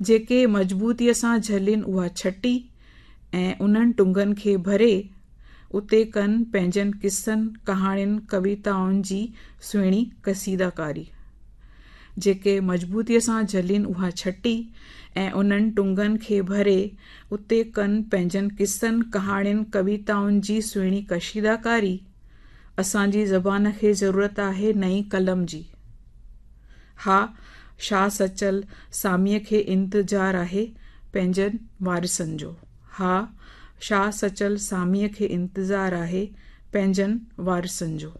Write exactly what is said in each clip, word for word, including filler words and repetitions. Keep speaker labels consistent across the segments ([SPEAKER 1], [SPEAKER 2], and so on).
[SPEAKER 1] جيڪي مضبوطيء سان جهلين اها ڇٽي ۽ انهن ٽنگن کي ڀري اتي ڪن پنهنجن قصن، ڪهاڻين، ڪويتائن جي سهڻي قصيداڪاري. جيڪي مضبوطيء سان جهلين اها ڇٽي ۽ انهن ٽنگن کي ڀري اتي ڪن پنهنجن قصن، ڪهاڻين، ڪويتائن جي سهڻي ڪشيداڪاري. اسان جي زبان کي ضرورت آهي نئين قلم جي. ها، شاهه سچل ساميء کي انتظار آهي پنهنجن وارثن جو. ها، شاهه سچل ساميء کي انتظار آهي پنهنجن وارثن جو.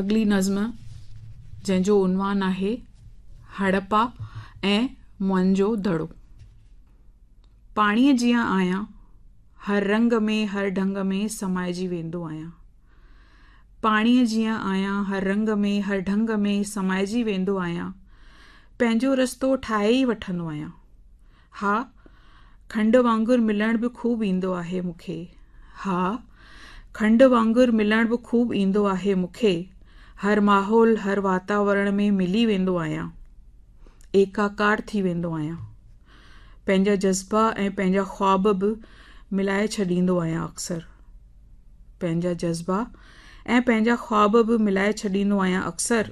[SPEAKER 1] اڳلي نظم جنهن جو عنوان آهي هڙپا ۽ موئن جو دڙو. پاڻيء جيان آهيان، هر رنگ ۾ هر ڍنگ ۾ سمائجي ويندو آهيان. پاڻيء جيان آهيان، هر رنگ ۾ هر ڍنگ ۾ سمائجي ويندو آهيان. پنهنجو رستو ٺاهي ئي وٺندو آهيان. ها، کنڊ وانگر ملڻ به خوب ايندو آهي مون کي. ها، کنڊ وانگر ملڻ به خوب ايندو آهي مون کي. هر ماحول، هر واتاورڻ ۾ ملي ويندو آهيان. ايڪاڪار ٿي ويندو آهيان. پنهنجا جذبا ۽ پنهنجا خواب به ملائي ڇڏيندو آهيان اڪثر. پنهنجا جذبا ۽ پنهنجا خواب به ملائي ڇڏيندو آهيان اڪثر.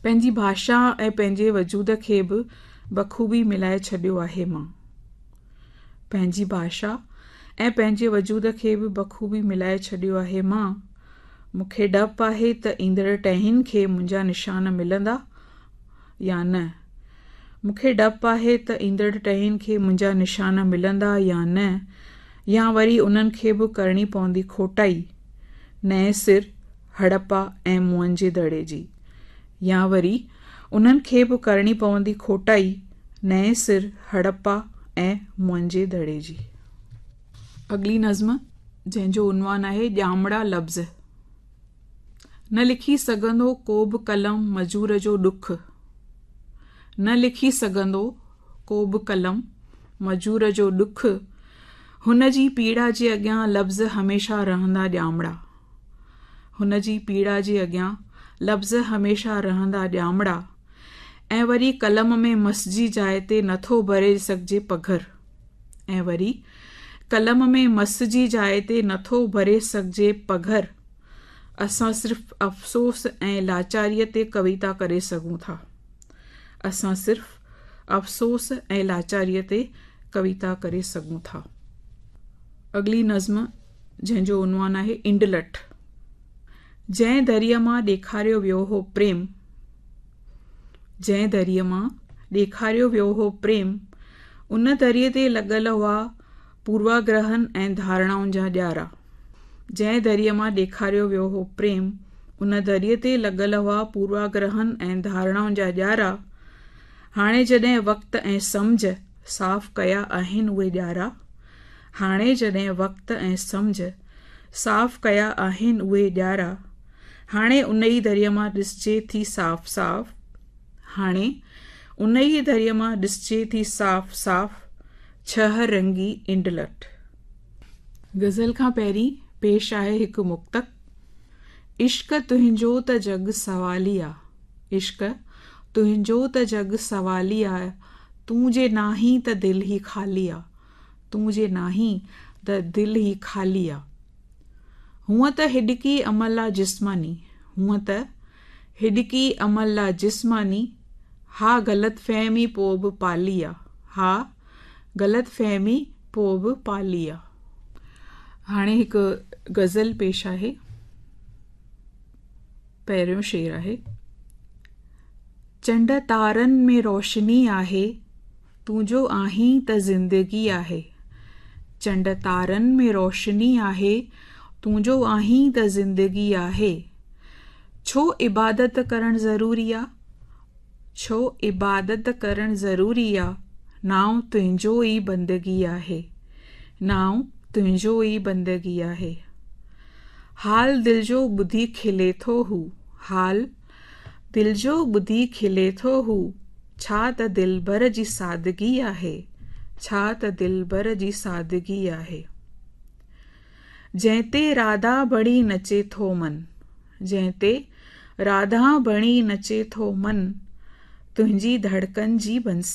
[SPEAKER 1] پنهنجي ڀاشا ۽ پنهنجي وجود کي به بخوبي ملائي ڇڏيو آهي مان. پنهنجي ڀاشا ۽ پنهنجي وجود کي به بخوبي ملائي ڇڏيو آهي مان. مون کي ڊپ آهي ته ايندڙ ٽهين کي منهنجا نشان ملندا يا نه. مون کي ڊپ آهي ته ايندڙ ٽهين کي منهنجا نشان ملندا يا نه، يا وري انهن کي به ڪرڻي پوندي کوٽائي نئين سر هڙپا ۽ موئن جي دڙي جي. يا وري انهن کي به ڪرڻي پوندي کوٽائي نئين سر هڙپا ۽ موئن جي دڙي جي. اڳلي نظم جنهن جو عنوان آهي ڄامڙا لفظ. نه لکي سگهندو ڪو به قلم مزور جو ڏک. نه لکي سگهندو ڪو به قلم مزور جو ڏک. هن جي پيڙا جي اڳيان لفظ هميشه رهندا ڄامڙا. هن جي پيڙا جي اڳيان لفظ هميشه رهندا ڄامڙا. ۽ وري قلم ۾ مس جي جاء تي نٿو ڀري سگهجي پگهر. ۽ وري قلم ۾ مس جي جاء تي نٿو ڀري سگهجي پگهر. اسان صرف افسوس ۽ لاچاريء تي ڪويتا ڪري سگهون ٿا. اسان صرف افسوس ۽ لاچاريء تي ڪويتا ڪري سگهون ٿا. اڳلي نظم جنهن جو عنوان آهي انڊلٺ. جنهن دريء مان ڏيکاريو ويو هو پريم، جنهن دريء مان ڏيکاريو ويو هو پريم، ان دريء تي لڳل هئا پورواگرهن ۽ ڌارڻائن جا ڄارا. جنهن دريء مان ڏيکاريو ويو هو پريم، ان دريء تي لڳل هئا پورواگرهن ۽ ڌارڻائن جا ڄارا. هاڻي جڏهن وقت ۽ سمجهه صاف ڪيا آهن اهي ڄارا، هاڻي جڏهن وقت ۽ سمجهه صاف ڪيا آهن اهي ڄارا، هاڻي ان ئي دريء مان ڏسجي ٿي صاف صاف، هاڻي ان ئي دريء مان ڏسجي ٿي صاف صاف ڇهه رنگي انڊلٺ. غزل کان پهرين پيش آهي هڪ مڪتڪ. عشق تنهنجو ته جڳ سوالي آ، عشق تنهنجو ته جڳ سوالي آ، تون جي ناهين ته دل هي خالي آ، تون جي ناهين ته دل هي خالي آ. هونء ته هڏڪي عمل آ جسماني، هونء ته هڏڪي عمل آ جسماني، ها غلط فهمي پوء به پالي آ، ها غلط فهمي پوء به پالي آ. هاڻي هڪ غزل پيش آهي. پهريون شعر آهي، چنڊ تارن ۾ روشني آهي، تون جو آهين ته زندگي آهي. چنڊ تارن ۾ روشني آهي، تون جو آهين ته زندگي آهي. ڇو عبادت ڪرڻ ضروري آ، ڇو عبادت ڪرڻ ضروري آ، نانء تنهنجو ئي بندگي آهي، نانء تنهنجو ئي بندگي آهي. حال دل جو ٻڌي کلي ٿو هو، حال دل جو ٻڌي کلي ٿو هو، ڇا ته دلبر جي سادگي آهي، ڇا ته دلبر جي سادگي آهي. جنهن تي راڌا بڻي نچي ٿو من، جنهن تي راڌا بڻي نچي ٿو من، تنهنجي ڌڙڪن جي بنسري.